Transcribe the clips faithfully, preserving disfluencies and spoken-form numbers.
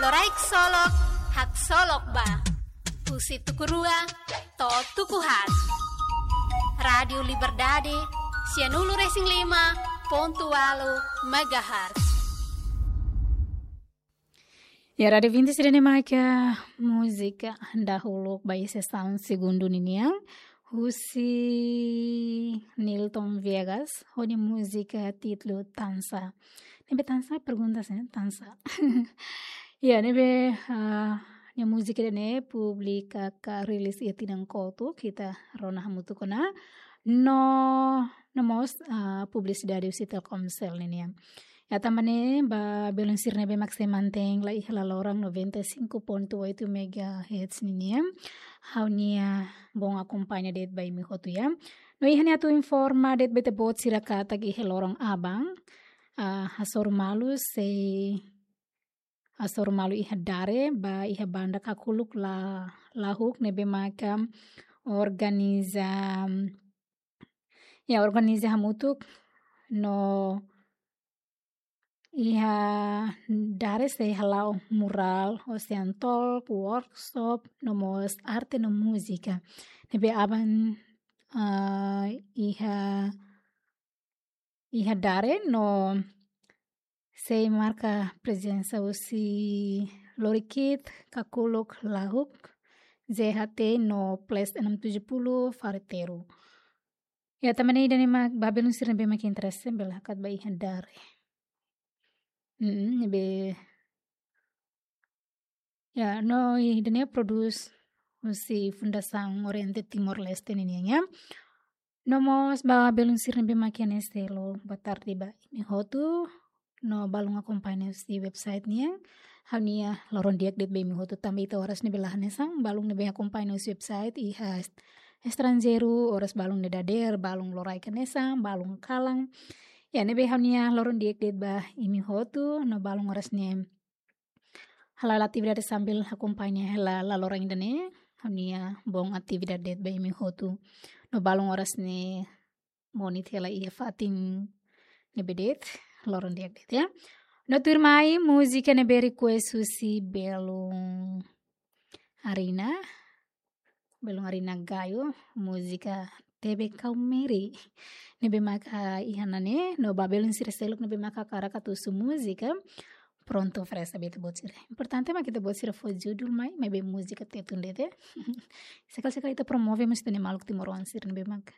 Loraik Solok, haksolok ba. Husi tuku rua to'o tuku haat. Rádiu Liberdade, sianulu-resin-lima pontu ualu megahertz. Ya, Rádiu Vinti sira ne maka múzika dahuluk ba iha sesaun segundu ninian, husi Nilton Viegas, ho nia múzika títulu Tansa. Ne'ebé tansa, pergunta se, tansa. Ya, ne'ebé, ah, nia múzika ida-ne'e publika ka rilis iha tinan kotuk, ita rona hamutuk ona. No, no mós, ah, publisidade husi Telkomsel ninian. Ya, tanba ne'e, ba belun sira ne'ebé mak sei mantein lai iha laloran noventa e cinco ponto oito megahertz ninian, ha'u-nia bom akompaña de'it ba imi hotu ya. No iha ne'e atu informa de'it ba ita-boot sira katak iha loron aban, ah, hasoru malu sei, hasoru malu iha Dare, ba iha banda Kakuluk La-, Lahuk ne'ebé maka organiza, ya, organiza hamutuk no iha Dare sei hala'o mural, ocean talk, workshop, no mós arte no múzika. Ne'ebé aban, ah, iha, iha Dare no sei marka prezensa husi Lorikit, Kakuluk Lahuk, Z H T no Plus enam tujuh puluh Farteru. Ya, tanba ne'e ida-ne'e mak ba belun sira ne'ebé mak interese bele hakat ba iha Dare. Mm, ne'ebé. Ya, no ida-ne'e prodús husi Fundasaun Oriente Timor-Leste ninian ya. No mós ba belun sira ne'ebé mak iha ne'e selo, boa tarde ba imi hotu. No balun akompaña husi website nian. Ha'u-nia loron di'ak de'it ba imi hotu tanba ita oras ne'ebé la'o hanesan, balun ne'ebé akompaña husi website iha est-, estranjeiru, oras balun ne'e dadeer, balun loraik hanesan, balun kalan. Ya, ne'ebé ha'u-nia loron di'ak de'it ba imi hotu, no balun oras ne'e hala'o atividade sambil akompaña hela laloran ida-ne'e, ha'u-nia bom atividade de'it ba imi hotu. No balun oras ne'e monit hela iha fatin ne'ebé de'it, loron di'ak de'it ya. No tuirmai múzika ne'ebé request husi belun Arina, belun Arina Gayo, múzika Tebe Kau Meri. Ne'ebé maka iha ne'e, no ba belun sira seluk ne'ebé maka hakarak atu husu múzika, prontu oferese ba ita-boot sira. Importante mak ita-boot sira fó judul mai, maibé múzika Tetun de'it ya. Sekali-sekali ita promove mós ita-nia maluk timoroan sira ne'ebé maka,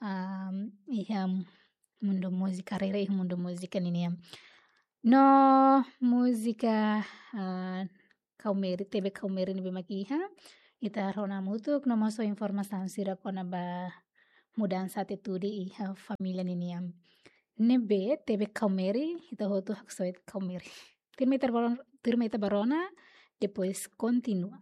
am, iha mundu múzika, haree iha mundu múzika ninian. No múzika, ah, Kau Meri, Tebe Kau Meri ne'ebé mak iha, ita rona hamutuk, no mós informasaun sira kona-ba mudansa atitude iha família ninian. Ne'ebé Tebe Kau Meri, ita hotu haksoit Kau Meri. Tuirmai ita ba ron-, tuirmai ita ba rona, depois kontinua.